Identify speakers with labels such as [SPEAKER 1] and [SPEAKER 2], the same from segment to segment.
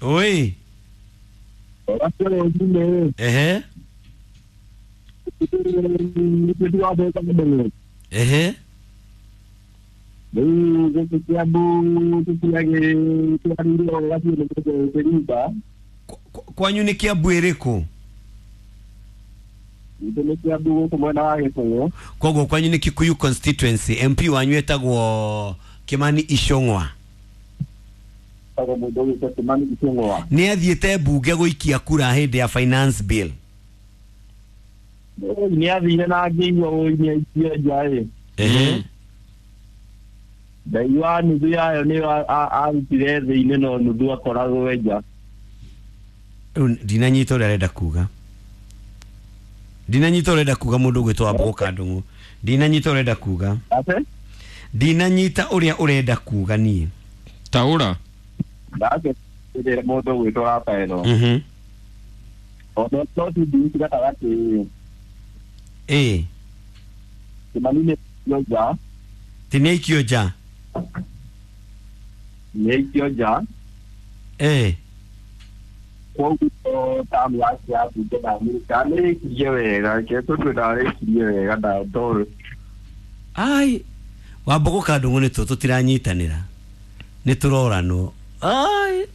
[SPEAKER 1] Oi. Ehe. Ehe. Kwanyu nĩ Kiambu ĩrĩkũ? Koguo kwanyu nĩ Kikuyu constituency. MP wanyu etagwo Kimani Ichung'wa. Nĩ athiĩte mbunge gũikia kura hĩndĩ ya finance bill.
[SPEAKER 2] Nĩ athire na ngĩigua ũi nĩ aikie nja ĩ.
[SPEAKER 1] Ehe.
[SPEAKER 2] Ndaigua nuthu yayo nĩyo arutire thĩ-inĩ no nuthu akoragwo nja.
[SPEAKER 1] Ndinanyita ũrĩa arenda kuga. Ndinanyita ũrenda kuga mũndũ ũgwĩtwo Wambũgũ Kandũng'ũ. Ndinanyita ũrenda kuga.
[SPEAKER 2] Ate?
[SPEAKER 1] Ndinanyita ũrĩa ũrenda kuga niĩ.
[SPEAKER 3] Taũra.
[SPEAKER 2] Ndake mũndũ ũgwĩtwo Rafaelo.
[SPEAKER 1] Mhm.
[SPEAKER 2] Ona no ti gatagatĩ.
[SPEAKER 1] Ĩĩ.
[SPEAKER 2] Kimani nĩ aikio nja.
[SPEAKER 1] Ti nĩ aikio nja.
[SPEAKER 2] Nĩ aikio nja.
[SPEAKER 1] Ĩĩ.
[SPEAKER 2] Koguo tamu yake ya mbunge ndamĩrĩkirie wega, reke tũtue ndarĩkirie wega ndoĩ.
[SPEAKER 1] Ai, Wambũgũ Kandũng'ũ nĩ tũtiranyitanĩra. Nĩ tũroranwo. Ai,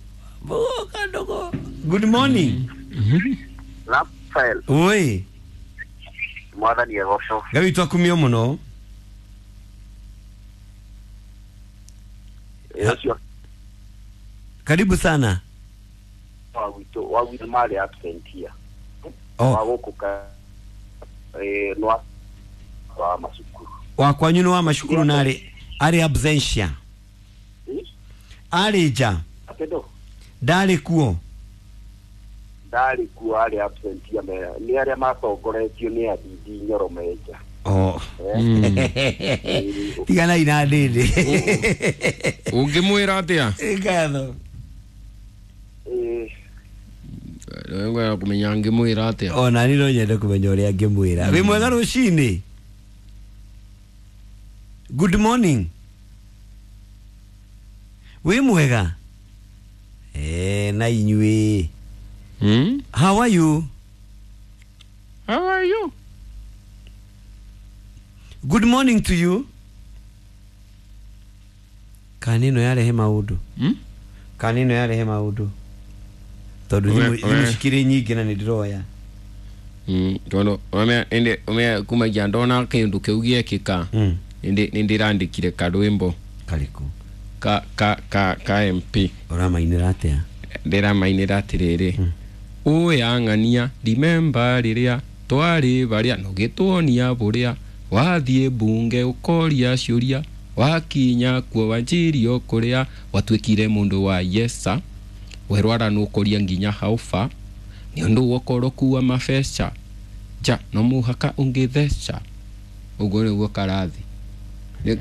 [SPEAKER 1] Wambũgũ Kandũng'ũ. Good morning.
[SPEAKER 4] Rafael.
[SPEAKER 1] Oi.
[SPEAKER 4] Mwathani agocwo.
[SPEAKER 1] Ngai witũ akumio mũno.
[SPEAKER 4] Ũcio.
[SPEAKER 1] Karibu sana.
[SPEAKER 4] Wa gwitũ marĩ absent here.
[SPEAKER 1] Oh.
[SPEAKER 4] Wa gũkũ ka no wa macukuru.
[SPEAKER 1] Wa kwanyu nĩ wa macukuru na arĩ absentia. Arĩ nja.
[SPEAKER 4] Atendo.
[SPEAKER 1] Ndarĩ kuo.
[SPEAKER 4] Ndarĩ kuo arĩ absentia nĩ arĩa matongoretio nĩ Adidi Nyoro menja.
[SPEAKER 1] Oh. Tiganai na ndĩndĩ.
[SPEAKER 3] Ũngĩmwĩra atĩa?
[SPEAKER 1] Ngatho.
[SPEAKER 3] Ngwenda kũmenya ngĩmwĩra atĩa.
[SPEAKER 1] Ona niĩ no nyende kũmenya ũrĩa ngĩmwĩra. Wĩ mwega rũcinĩ? Good morning. Wĩ mwega? Na inyuĩ. How are you?
[SPEAKER 3] How are you?
[SPEAKER 1] Good morning to you. Kanino yarehe maũndũ. Kanino yarehe maũndũ. Tondũ thimũ cikĩrĩ nyingĩ na nĩ ndĩroya.
[SPEAKER 3] Tondũ ĩndĩ kumagia ndona kĩndũ kĩu gĩekĩka nĩ ndĩrandĩkire karwĩmbo.
[SPEAKER 1] Karĩkũ?
[SPEAKER 3] Ka MP.
[SPEAKER 1] Ũramainĩra atĩa?
[SPEAKER 3] Ndĩramainĩra atĩrĩrĩ. Ũya ng'ania remember rĩrĩa twarĩ barĩa nũgĩtuonia bũrĩa wathiĩ mbunge ũkoria ciũria wakinya kuo wanjirio kũrĩa watuĩkire mũndũ wa yesa werwara nũkũria nginya haufa nĩ ũndũ wokoroku wa mabeca nja no mũhaka ũngĩtheca. Ũguo nĩguo karathi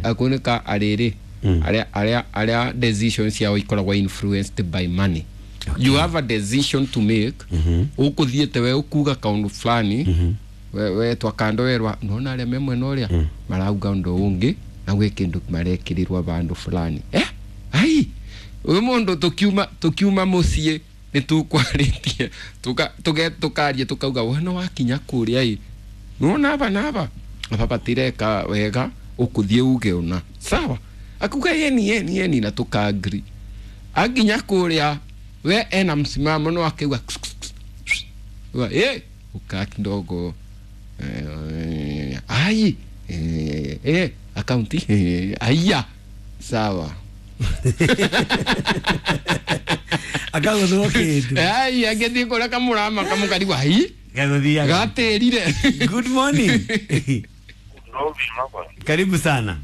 [SPEAKER 3] ako nĩ ka arĩrĩ arĩa decisions ciao ikoragwo influenced by money. Okay. You have a decision to make. Ũkũthiĩte we ũkuga kaũndũ fulani we twakando werwa nona arĩa me mwena ũrĩa marauga ũndũ ũngĩ na gwĩ kĩndũ marekĩrĩrwo bandũ fulani. Ai ũyũ mũndũ tũkiuma mũciĩ nĩ tũkwarĩtie tũkaria tũkauga we no wakinya kũrĩa ĩ nĩwona aba na aba aba batireka wega ũkũthiĩ uge ũna sawa akuga yeni yeni yeni na tũkaagri aginya kũrĩa we ena msimamo no akauga ukaa kidogo ai akaunti aya sawa
[SPEAKER 1] akagũthwo kĩndũ
[SPEAKER 3] ai agĩthiĩ kũrĩa kamũrama kamũkarigwo ai
[SPEAKER 1] gagũthiaga
[SPEAKER 3] gatĩrire.
[SPEAKER 1] Good morning. Karibu sana.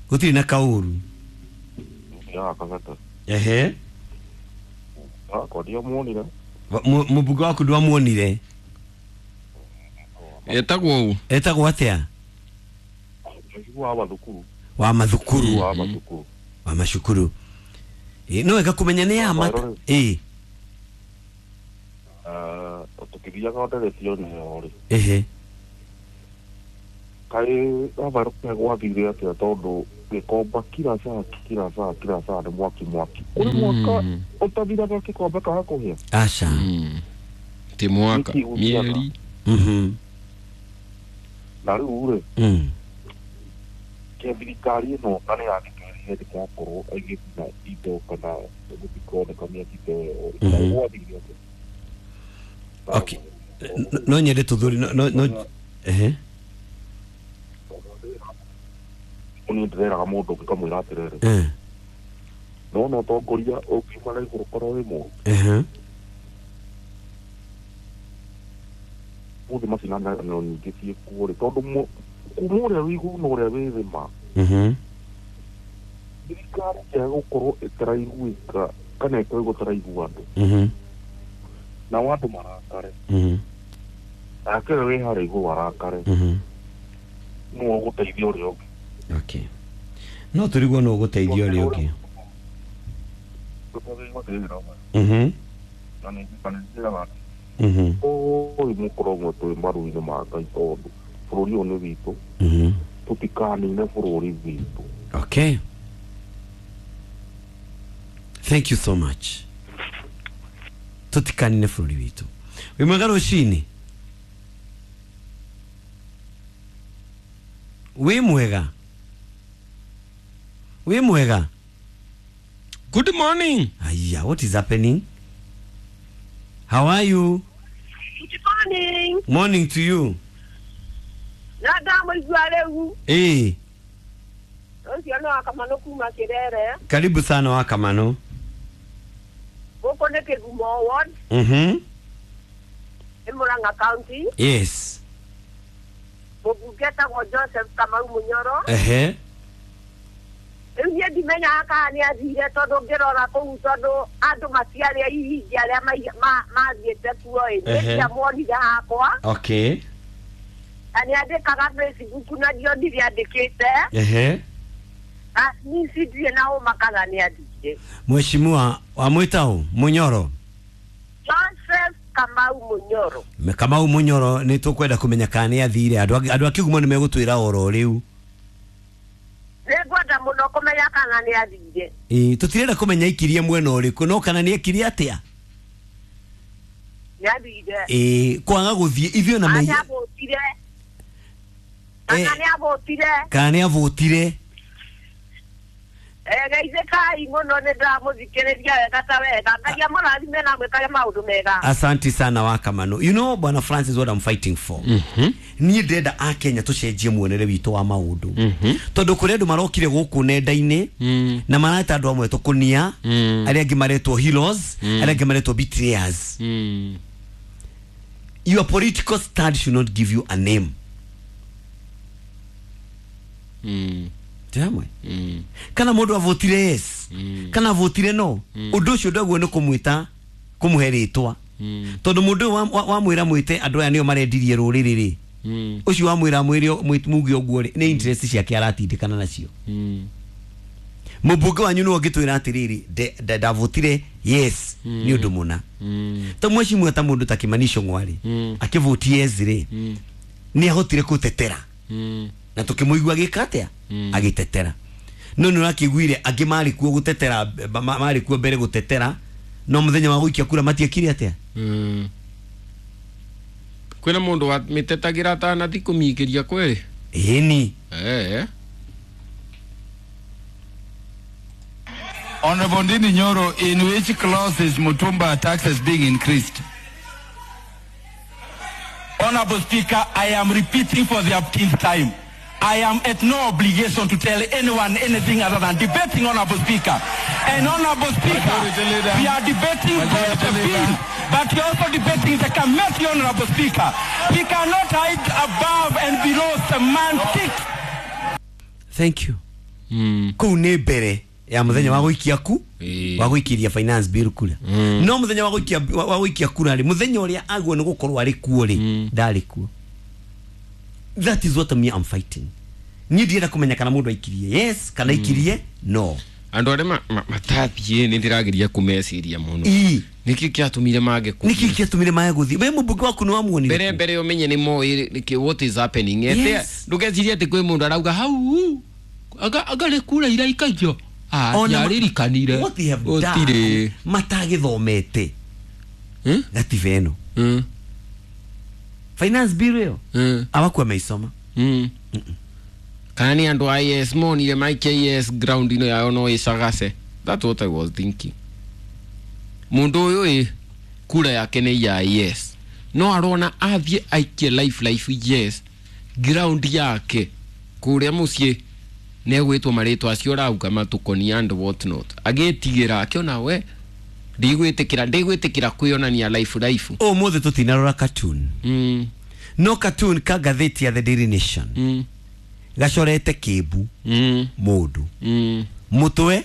[SPEAKER 1] Gũtirĩ na kaũru. Ehe. Mũmbunge waku ndwamuonire?
[SPEAKER 3] Etagwo ũ?
[SPEAKER 1] Etagwo atĩa? Wa mathukuru. Wa macukuru. No wega kũmenya nĩ ya mata. Ĩĩ.
[SPEAKER 5] Tũkĩthiaga nderetio nĩyo rĩ.
[SPEAKER 1] Ehe.
[SPEAKER 2] Kaĩ gabaruke gwathire atĩa tondũ gĩkomba kila saa kila saa kila saa nĩ mwaki mwaki. Kũrĩ mwaka ũtathiraga gĩkombe kaga kũhĩa.
[SPEAKER 1] Aca.
[SPEAKER 3] Ti mwaka mieri.
[SPEAKER 2] Na rĩu rĩ ke thirikari ĩno na nĩ yagĩtwĩrire ndĩgakorwo ĩgĩthina indo kana gũtikoneka mĩaki ta ĩyo gwathire atĩa.
[SPEAKER 1] Okay. No nyende tũthuri no ehe.
[SPEAKER 2] Niĩ ndĩreraga mũndũ ũngĩ ngamwĩra atĩrĩrĩ. No no ũtongoria ũngiuma na igũrũ korwo wĩ mũũru. Mũthĩ macindanio nyingĩ ciĩkuo rĩ tondũ kuma ũrĩa wĩ igũrũ na ũrĩa wĩ thĩ ma. Thirikari ĩngĩaga gũkorwo ĩtaraiguĩka kana ĩkorwo ĩtaraigua andũ. Nao andũ marakare. Nake ũrĩa wĩ harĩa igũrũ arakare. Nũ ũgũteithia ũrĩa ũngĩ.
[SPEAKER 1] Okay. No tũrigwo nũ ũgũteithia ũrĩa ũngĩ.
[SPEAKER 2] Ũyũ mũkoragwo twĩ maru-inĩ ma Ngai tondũ bũrũri ũyũ nĩ witũ. Tũtikanine bũrũri witũ.
[SPEAKER 1] Okay. Thank you so much. Tũtikanine bũrũri witũ. Wĩ mwega rũcinĩ? Wĩ mwega? Wĩ mwega?
[SPEAKER 3] Good morning.
[SPEAKER 1] Aya, what is happening? How are you?
[SPEAKER 5] Good morning.
[SPEAKER 1] Morning to you. Eh. Karibu sana Wakamano.
[SPEAKER 5] Gũkũ nĩ Kĩgumo ward. Nĩ Murang'a County.
[SPEAKER 1] Yes.
[SPEAKER 5] Mũmbunge etagwo Joseph Kamau Munyoro.
[SPEAKER 1] Ehe.
[SPEAKER 5] Rĩu niĩ ndimenyaga kana nĩ athire tondũ ngĩrora kũu tondũ andũ matiarĩ aingĩ arĩa mathiĩte kuo ĩ. Niĩ ndiamuonire hakwa.
[SPEAKER 1] Okay.
[SPEAKER 5] Na nĩ andĩkaga Facebook na ndionire andĩkĩte.
[SPEAKER 1] Ehe.
[SPEAKER 5] Na niĩ cindirĩ na ũma kana nĩ athire.
[SPEAKER 1] Mheshimiwa wamwĩta ũ? Munyoro.
[SPEAKER 5] Joseph Kamau Munyoro.
[SPEAKER 1] Kamau Munyoro nĩ tũkwenda kũmenya kana nĩ athire. Andũ a Kĩgumo nĩ megũtwĩra oro rĩu.
[SPEAKER 5] Nĩngwenda mũno kũmenya kana nĩ athire.
[SPEAKER 1] Ĩĩ tũtirenda kũmenya ikirie mwena ũrĩkũ no kana nĩ ekirie atĩa?
[SPEAKER 5] Nĩ athire.
[SPEAKER 1] Ĩĩ kwaga gũthiĩ ithuĩ na
[SPEAKER 5] meiya. Kana nĩ avotire.
[SPEAKER 1] Kana nĩ avotire.
[SPEAKER 5] Geithĩkai mũno nĩ ndĩramũthikĩrĩria wega ta wega. Ngai amũrathime na amwĩkage maũndũ mega.
[SPEAKER 1] Asante sana Wakamano. You know Bwana Francis what I'm fighting for. Niĩ ndĩrenda a Kenya tũcenjie muonere witũ wa maũndũ. Tondũ kũrĩ andũ marokire gũkũ nenda-inĩ na mareta andũ amwe tũkũnia, arĩa angĩ maretwo heroes, arĩa angĩ maretwo betrayers. Your political stand should not give you a name. Hamwe kana mũndũ avotire yes kana avotire no ũndũ ũcio ndaguo nĩ kũmwĩta kũmũhe rĩtwa tondũ mũndũ wamwĩra mwĩte andũ aya nĩo marendirie rũrĩrĩ rĩ ũcio wamwĩra mwĩre muge ũguo rĩ nĩ interest ciake aratindĩkana nacio. Mũmbunge wanyu nĩwe ũngĩtwĩra atĩrĩrĩ ndavotire yes nĩ ũndũ mũna ta mheshimiwa ta mũndũ ta Kimani Ichung'wa rĩ akĩvoti yes rĩ nĩ ahotire gũtetera na tukĩmũigua agĩka atĩa agĩtetera no nĩ ũrakĩiguire angĩ marĩ kuo gũtetera marĩ kuo mbere gũtetera no mũthenya wa gũikia kura matiekire atĩa.
[SPEAKER 3] Kwĩna mũndũ wa mĩtetagĩra atanathi kũmĩikĩria kweri
[SPEAKER 1] ĩni.
[SPEAKER 6] Honorable Ndindi Nyoro, in which clause is Mutumba taxes being increased? Honorable Speaker, I am repeating for the upteenth time. I am at no obligation to tell anyone anything other than debating, Honorable Speaker. And Honorable Speaker, we are debating both the bill, but we are also debating the committee, Honorable Speaker. We cannot hide above and below semantics.
[SPEAKER 1] Thank you. Kũu nĩ mbere ya mũthenya wa gũikia ku wa gũikiria finance bill kura. No mũthenya wa gũikia kura rĩ mũthenya ũrĩa aguo nĩ gũkorwo arĩ kuo rĩ ndarĩ kuo. That is what me I'm fighting. Niĩ ndienda kũmenya kana mũndũ aikirie yes kana aikirie no.
[SPEAKER 3] Andu aria matathiĩ nĩ ndĩrageria kũmeciria mũno. Nĩkĩ kĩatũmire mage kũthiĩ?
[SPEAKER 1] Nĩkĩ kĩatũmire mage gũthiĩ? We mũmbunge waku nĩ wamuonire?
[SPEAKER 3] Mbere mbere ũmenye nĩ moĩ nĩkĩ what is happening. Ndũgecirie atĩ kwĩ mũndũ arauga hau agarĩ kura iraikagio. Yaririkanire.
[SPEAKER 1] What they have done matagĩthomete gatiba ĩno. Finance bill ĩyo abakuwa meisoma.
[SPEAKER 3] Kana nĩ andũ a IS monire maikia IS ground ino yao no ĩcagace. That's what I was thinking. Mundu ũyũ kura yake nĩ ya yes. No arona athiĩ aikie life yes ground yake kũrĩa mũciĩ nĩegwĩtwo marĩtwa acio ũrauga matukoni and what not. Agĩtigĩra akĩona we ndigwĩtĩkĩra kwĩonania life.
[SPEAKER 1] Ũmũthĩ tũtinarora cartoon. No cartoon ka ngathĩti ya The Daily Nation. Gacorete kĩmbu mũndũ. Mũtwe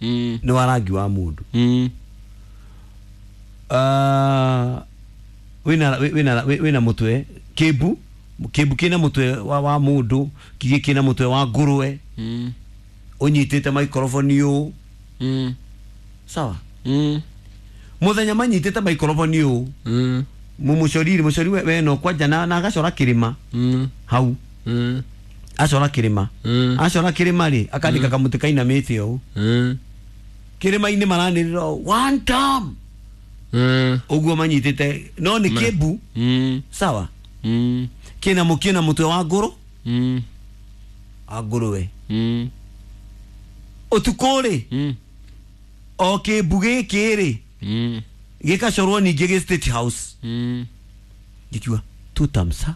[SPEAKER 1] nĩ wa rangi wa mũndũ. Wĩna mũtwe kĩmbu kĩna mũtwe wa mũndũ, kĩngĩ kĩna mũtwe wa ngũrwe. Ũnyitĩte microphone ũũ. Sawa. Mũthenya manyitĩte microphone ũũ. Mũcori we no kwanja na agacora kĩrĩma hau. Acora kĩrĩma. Acora kĩrĩma rĩ akandĩka kamũtĩ kainamĩte ũũ. Kĩrĩma-inĩ maranĩrĩra one time. Ũguo manyitĩte no nĩ kĩmbu. Sawa. Kĩna mũkĩna mũtwe wa ngũrũ. Wa ngũrwe. Ũtukũ rĩ o kĩmbu gĩkĩ rĩ gĩgacorwo ningĩ gĩ State House. Gĩkiuga two terms.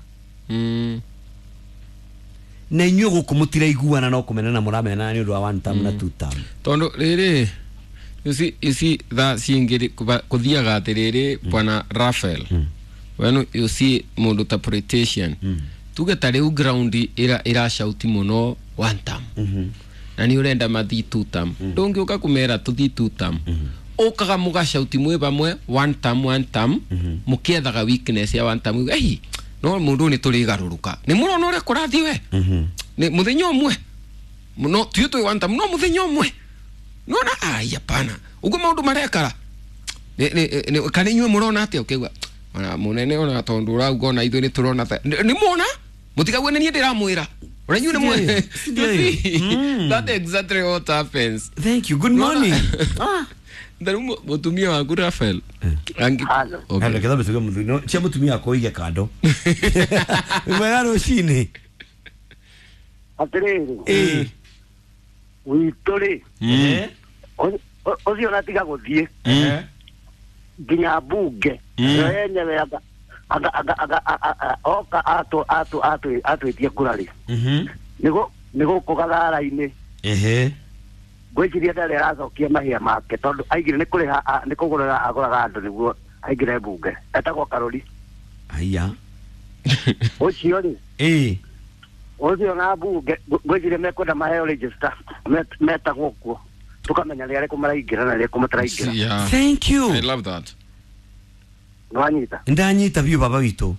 [SPEAKER 1] Na inyuĩ gũkũ mũtiraiguana no kũmenana mũramenana nĩ ũndũ wa one term na two term.
[SPEAKER 3] Tondũ rĩrĩ you see thaa cingĩ kũthiaga atĩrĩrĩ bwana Raphael. When you see mũndũ ta politician tuge ta rĩu ground ĩracauti mũno one term. Na nĩ ũrenda mathiĩ two term. Ndũngĩũka kũmera tũthiĩ two term. Ũkaga mũgacauti mwĩ bamwe one term mũkĩethaga weakness ya one term. Ei no mũndũ nĩ tũrĩgarũrũka. Nĩ mũrona ũrĩa kũrathiĩ we. Nĩ mũthenya ũmwe. No tiũ twĩ one term no mũthenya ũmwe. Nona ai hapana. Ugo maũndũ marekara. Nĩ kana inyuĩ mũrona atĩa ũkĩigua ona mũnene ona tondũ ũrauga ona ithuĩ nĩ tũrona nĩ muona mũtikague nĩ niĩ ndĩramwĩra. Ona inyuĩ nĩ mwe. That exactly what happens.
[SPEAKER 1] Thank you. Good morning.
[SPEAKER 3] Ndaru mũtumia waku Raphael.
[SPEAKER 1] Okay. Ketha betuga mũthuri no cia mũtumia wakwa ũige kando. Mwega rũcinĩ.
[SPEAKER 4] Atĩrĩrĩ. Witũ rĩ. Ũcio ũratiga gũthiĩ. Nginya mbunge. Yenyewe oka atwĩtie kura rĩ. Nĩ gũkũ Gathara-inĩ. Ngwĩciria ndarĩ aracokia mahia make tondũ aigire nĩ kũrĩha nĩ kũgũrĩra agũraga andũ nĩguo aingĩre mbunge. Etagwo Karori.
[SPEAKER 1] Aya.
[SPEAKER 4] Ũcio rĩ. Ũcio na mbunge ngwĩciria mekwenda maheo register metagwo kuo. Tukamenya nĩ arĩkũ maraingĩra na arĩkũ mataraingĩra.
[SPEAKER 1] Thank you.
[SPEAKER 3] I love that.
[SPEAKER 4] Nĩwanyita?
[SPEAKER 1] Ndanyita biũ baba witũ.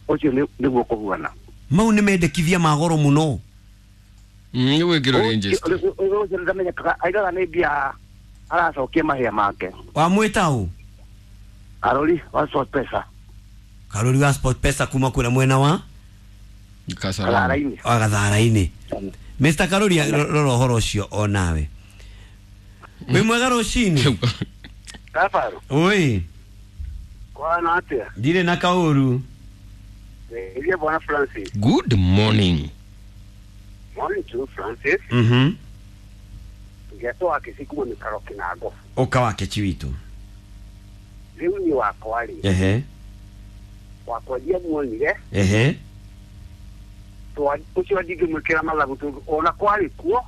[SPEAKER 4] Ũcio nĩguo kũhuana.
[SPEAKER 1] Mau nĩ mendekithia ma goro mũno.
[SPEAKER 3] Nĩ wĩkĩrwo register.
[SPEAKER 4] Ũcio ndamenyekaga aigaga nĩ mbia aracokia mahia make.
[SPEAKER 1] Wamwĩta ũ?
[SPEAKER 4] Karori wa Sport Pesa.
[SPEAKER 1] Karori wa Sport Pesa kuma kũrĩa mwena wa
[SPEAKER 4] Gathara-inĩ.
[SPEAKER 1] Wa Gathara-inĩ. Mr. Karori rora ũhoro ũcio o nawe. Wĩ mwega rũcinĩ.
[SPEAKER 4] Kabaru.
[SPEAKER 1] Oi.
[SPEAKER 4] Kwana atĩa?
[SPEAKER 1] Ndirĩ na kaũru.
[SPEAKER 4] Ndiye bwana Francis.
[SPEAKER 3] Good morning.
[SPEAKER 4] Morning to Francis. Ngeto akisiku ni karoki na gofu.
[SPEAKER 1] Oka wake chiwito.
[SPEAKER 4] Rĩu ni wakwa rĩ. Wakwa ndiye muonire. Ũcio ndingĩmwĩkĩra mathabu tondũ ona kwarĩ kuo.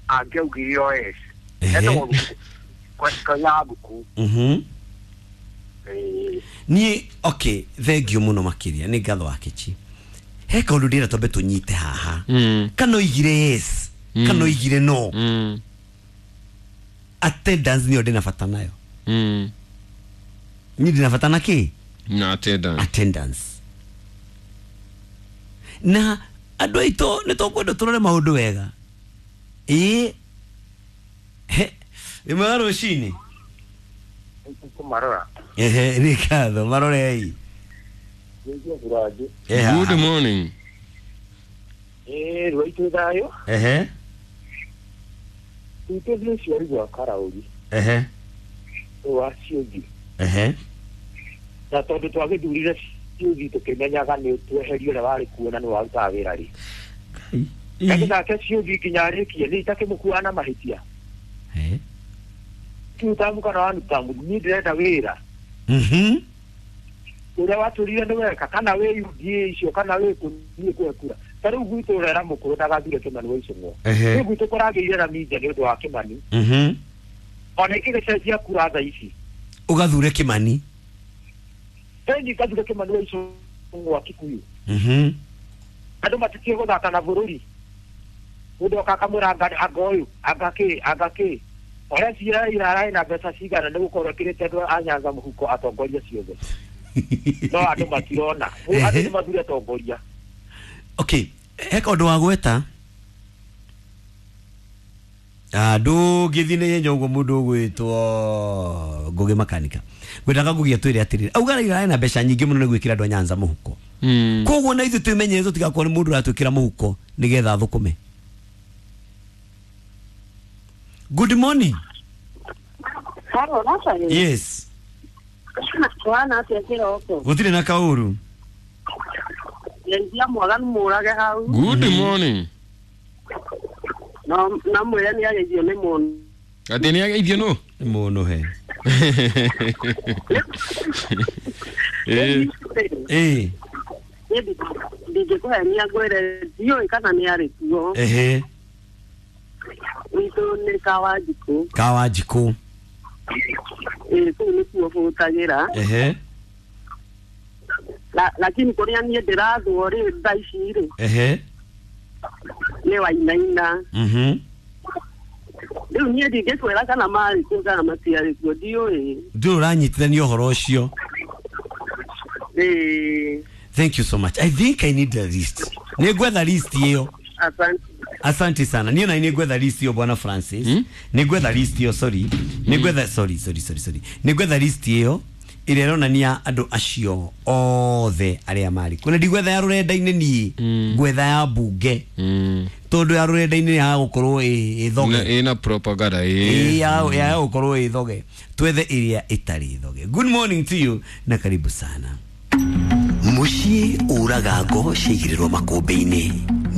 [SPEAKER 4] Angĩaugire o yes. Etagwo Kanyabuku.
[SPEAKER 1] Niĩ okay, thank you mũno makĩria nĩ ngatho wake chi. He kaũndũ ndĩra twambe tũnyite haha. Kana oigire yes, kana oigire no. Attendance nĩyo ndĩna bata nayo. Niĩ ndĩna bata na kĩ?
[SPEAKER 3] Na attendance.
[SPEAKER 1] Attendance. Na andũ aitũ nĩ tũkwenda tũrore maũndũ wega. Ĩĩ. He, ĩmwe rũcinĩ.
[SPEAKER 2] Kũmarora.
[SPEAKER 1] Ehe, nĩ ngatho marorei.
[SPEAKER 3] Good morning.
[SPEAKER 2] Eh, rwaitũ thayo.
[SPEAKER 1] Ehe.
[SPEAKER 2] Twite thĩ cia Karauri.
[SPEAKER 1] Ehe.
[SPEAKER 2] Wa ciũthi.
[SPEAKER 1] Ehe.
[SPEAKER 2] Na tondũ twagĩthurire ciũthi tũkĩmenyaga nĩ tweherio ũrĩa warĩ kuo na nĩ warutaga wĩra rĩ. Nake nake ciũthi nginya arĩkie nĩ itakĩmũkuaga na mahĩtia.
[SPEAKER 1] Ehe.
[SPEAKER 2] Kiutamu kana wanutamu niĩ ndĩrenda wĩra. Ũrĩa watũrire nĩ weka kana wĩ UDA icio kana wĩ kũ niĩ kwekura. Ta rĩu gwitũ ũrera mũkũrũ ndagathure Kĩmani wa Icũng'wa. Rĩu gwitũ kũragĩire na minja nĩ ũndũ wa Kĩmani. Ona ĩgĩcenjia kura thaa ici.
[SPEAKER 1] Ũgathure Kĩmani.
[SPEAKER 2] Ĩni ngathure Kĩmani wa Icũng'wa Kikuyu. Andũ matitie gũthaka na bũrũri. Mũndũ oka akamwĩra anga ũyũ, anga kĩ, anga kĩ. Ũrĩa cira irararĩ na mbeca cigana nĩ gũkorwo ĩkĩrĩte andũ a Nyanza mũhuko atongoria ciothe. No andũ matirona. Andũ nĩ mathure atongoria.
[SPEAKER 1] Okay, heka ũndũ wa gweta. Ndũngĩthiĩ na ihenya ũguo mũndũ ũgwĩtwo Ngũgĩ Makanika. Ngwendaga Ngũgĩ atwĩre atĩrĩrĩ, auga Raila ena mbeca nyingĩ mũno nĩ gwĩkĩra andũ a Nyanza mũhuko. Koguo na ithuĩ twĩmenyerere tũtigakorwo nĩ mũndũ ũratwĩkĩra mũhuko nĩgetha athũkũme. Good morning.
[SPEAKER 5] Hello, Nathan.
[SPEAKER 1] Yes.
[SPEAKER 5] Kwana atĩa kĩroko?
[SPEAKER 1] Gũtirĩ na kaũru.
[SPEAKER 5] Ngeithia mwaganu mũrage hau.
[SPEAKER 3] Good morning.
[SPEAKER 5] No na mwĩre nĩ ageithio nĩ mũndũ.
[SPEAKER 3] Atĩ nĩ ageithio nũ?
[SPEAKER 1] Nĩ mũndũ he. Eh.
[SPEAKER 5] Ndingĩkũhenia ngwĩre ndiũĩ kana nĩ arĩ kuo.
[SPEAKER 1] Ehe.
[SPEAKER 5] Witũ nĩ Kawanjikũ.
[SPEAKER 1] Kawanjikũ.
[SPEAKER 5] Ĩĩ kũu nĩkuo bũtagĩra.
[SPEAKER 1] Ehe.
[SPEAKER 5] Lakini kũrĩa niĩ ndĩrathwo rĩ thaa ici rĩ.
[SPEAKER 1] Ehe.
[SPEAKER 5] Nĩ Wainaina. Rĩu niĩ ndingĩkwĩra kana marĩ kuo kana matiarĩ kuo ndiũĩ.
[SPEAKER 1] Ndũrĩ ũranyitithania ũhoro ũcio.
[SPEAKER 5] Ĩĩ.
[SPEAKER 1] Thank you so much. I think I need a list. Nĩ ngwetha list ĩyo.
[SPEAKER 5] Asante.
[SPEAKER 1] Asante sana. Niĩ na nĩ ngwetha list ĩyo Bwana Francis. Nĩ ngwetha list ĩyo, sorry. Nĩ ngwetha sorry. Nĩ ngwetha list ĩyo ĩrĩa ĩronania andũ acio othe arĩa marĩ kuo. Na ndigwetha ya rũrenda-inĩ niĩ, ngwetha ya mbunge. Tondũ ya rũrenda-inĩ ya gũkorwo ĩ thoge.
[SPEAKER 3] Ĩna propaganda
[SPEAKER 1] ĩ. Ya gũkorwo ĩ thoge. Twethe ĩrĩa ĩtarĩ thoge. Good morning to you na karibu sana.
[SPEAKER 7] Mũciĩ ũraga ngo ciaigĩrĩrwo makũmbĩ-inĩ,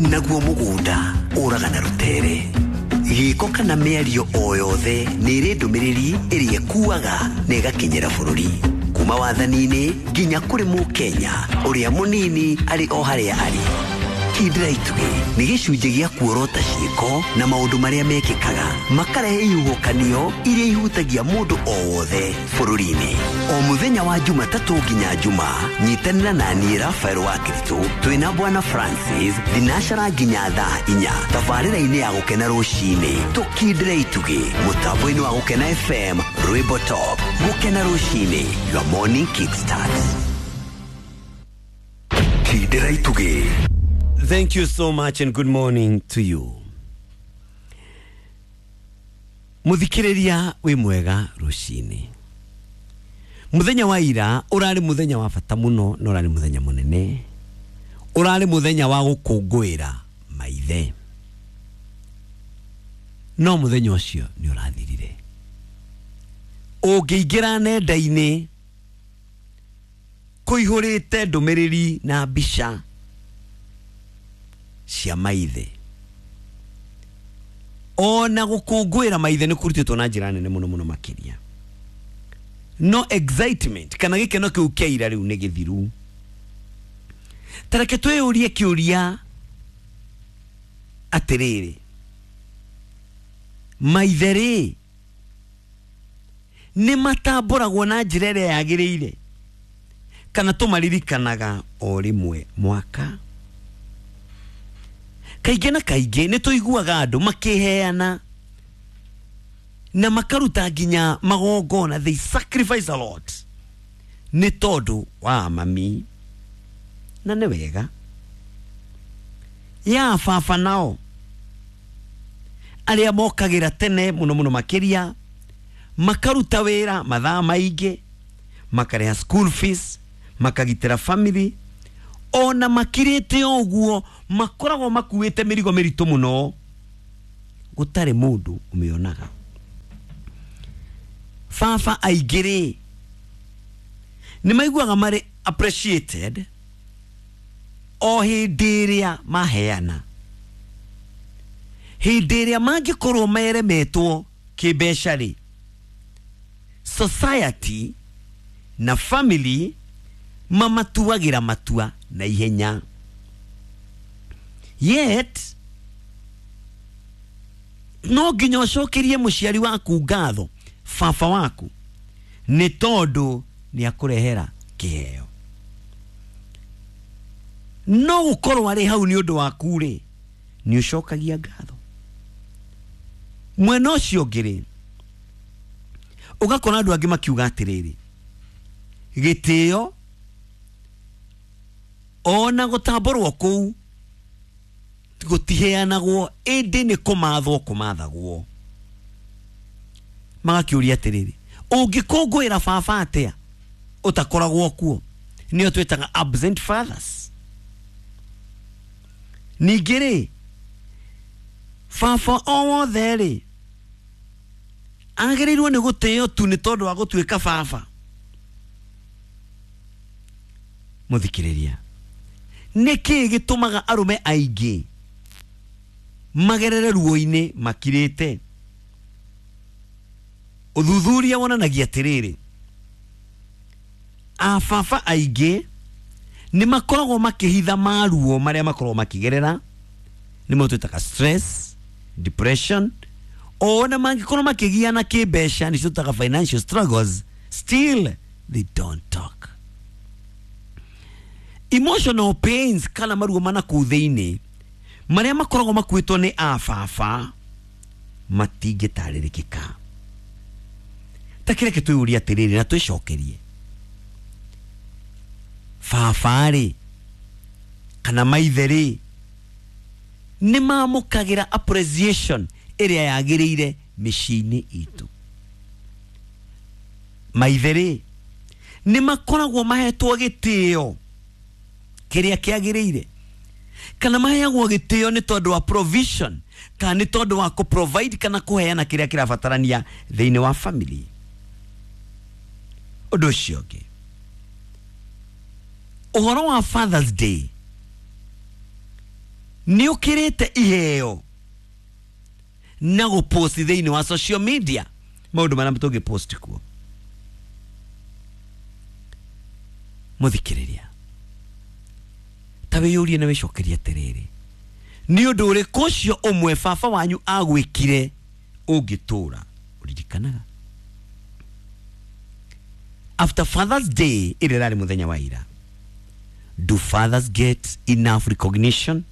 [SPEAKER 7] naguo mũgũnda ũraga na rũtere. Gĩko kana mĩario o yothe nĩ ĩrĩ ndũmĩrĩri ĩrĩa ĩkuaga na ĩgakinyĩra bũrũri. Kuma wathani-inĩ nginya kũrĩ mũkenya ũrĩa mũnini arĩ o harĩa arĩ. Kindĩra itugĩ nĩ gĩcunjĩ gĩa kuorota ciĩko na maũndũ marĩa mekĩkaga makarehe ihuhũkanio iria ihutagia mũndũ o wothe bũrũri-inĩ. O mũthenya wa Jumatatũ nginya Juma, nyitanĩra na niĩ Rafael wa Kiritũ twĩna Bwana Francis thinacara nginya thaa 4 tabarĩra-inĩ ya Gũkena rũcinĩ. Tũkindĩre itugĩ mũtambo-inĩ wa Gũkena FM, Rwĩmbo Top. Gũkena rũcinĩ, your morning kickstart. Kindĩra itugĩ.
[SPEAKER 1] Thank you so much and good morning to you. Muthikiriria wi mwega rucini. Muthenya wa ira urari muthenya wa bata muno na urari muthenya munene. Urari muthenya wa gukungũĩra maithe. No muthenya ucio ni urathirire. Ũngĩingĩra nenda-inĩ kũihũrĩte ndũmĩrĩri na mbica cia maithe. Ona gũkũngũĩra maithe nĩ kũrutĩtwo na njĩra nene mũno mũno makĩria. No excitement kana gĩkeno kĩu kĩa ira rĩu nĩ gĩthiru. Ta reke twĩyũrie kĩũria atĩrĩrĩ, maithe rĩ nĩ matambũragwo na njĩra ĩrĩa yagĩrĩire kana tũmaririkanaga o rĩmwe mwaka? Kaingĩ na kaingĩ nĩ tũiguaga andũ makĩheana na makaruta nginya magongona, they sacrifice a lot nĩ tondũ wa mami, na nĩ wega. Ya baba nao Arĩa mokagĩra tene mũno mũno makĩria, makaruta wĩra mathaa maingĩ, makarĩha school fees, makagitĩra family, ona makirĩte ũguo makoragwo makuĩte mĩrigo mĩritũ mũno gũtarĩ mũndũ ũmĩonaga. Baba aingĩ rĩ nĩ maiguaga marĩ appreciated o hĩndĩ ĩrĩa maheana. Hĩndĩ ĩrĩa mangĩkorwo meremetwo kĩmbeca rĩ, society na family mamatuagĩra matua na ihenya. Yet no nginya ũcokerie mũciari waku ngatho, baba waku, nĩ tondũ nĩ akũrehera kĩheo. No gũkorwo arĩ hau nĩ ũndũ waku rĩ, nĩ ũcokagia ngatho. Mwena ũcio ũngĩ rĩ, ũgakora andũ angĩ makiuga atĩrĩrĩ, gĩtĩo ona gũtambũrwo kũu gũtiheanagwo, ĩndĩ nĩ kũmathwo kũmathagwo. Magakĩũria atĩrĩrĩ, ũngĩkũngũĩra baba atĩa ũtakoragwo kuo? Nĩo twĩtaga absent fathers. Ningĩ rĩ, baba o wothe rĩ agĩrĩirwo nĩ gũtĩo tu nĩ tondũ wa gũtuĩka baba. Mũthikĩrĩria, nĩkĩĩ gĩtũmaga arũme aingĩ magerere ruo-inĩ makirĩte? Ũthuthuria wonanagia atĩrĩrĩ, ababa aingĩ nĩ makoragwo makĩhitha maruo marĩa makoragwo makĩgerera, nĩmo twĩtaga stress, depression, ona mangĩkorwo makĩgiana kĩmbeca, nĩcio twĩtaga financial struggles, still they don't talk. Emotional pains kana maruo mana kũu thĩinĩ marĩa makoragwo makuĩtwo nĩ ababa matingĩtarĩrĩkĩka. Ta kĩreke twĩyũrie atĩrĩrĩ na twĩcokerie, baba rĩ kana maithe rĩ nĩ mamũkagĩra appreciation ĩrĩa yagĩrĩire mĩciĩ-inĩ itũ? Maithe rĩ nĩ makoragwo mahetwo gĩtĩo kĩrĩa kĩagĩrĩire, kana maheagwo gĩtĩo nĩ tondũ wa provision, kana nĩ tondũ wa kũ provide kana kũheana kĩrĩa kĩrabatarania thĩinĩ wa family? Ũndũ ũcio ũngĩ, ũhoro wa Father's Day nĩ ũkĩrĩte iheo na gũpost thĩinĩ wa social media, maũndũ marĩa tũngĩpost kuo. Mũthikĩrĩria, ta wĩyũrie na wĩcokerie atĩrĩrĩ, nĩ ũndũ ũrĩkũ ũcio ũmwe baba wanyu agwĩkire ũngĩtũra ũririkanaga? After Father's Day ĩrĩa ĩrarĩ mũthenya wa ira, do fathers get enough recognition?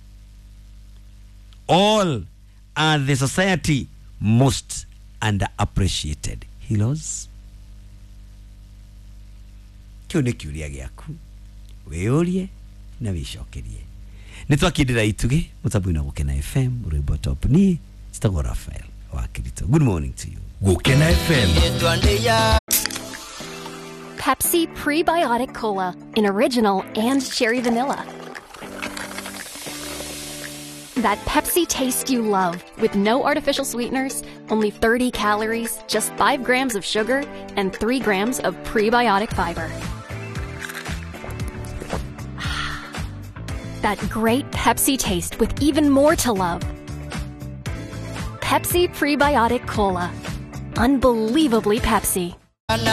[SPEAKER 1] All are the society most underappreciated heroes? Kĩu nĩ kĩũria gĩaku, wĩyũrie na wĩcokerie. Nĩ twakindĩra itugĩ mũtambo-inĩ wa Gũkena FM, rwĩmbo top ni citagwo Raphael wa Kirito. Good morning to you.
[SPEAKER 7] Gũkena FM.
[SPEAKER 8] Pepsi Prebiotic Cola in original and cherry vanilla. That Pepsi taste you love with no artificial sweeteners, only 30 calories, just 5 grams of sugar, and 3 grams of prebiotic fiber. That great Pepsi taste with even more to love. Pepsi Prebiotic Cola. Unbelievably Pepsi.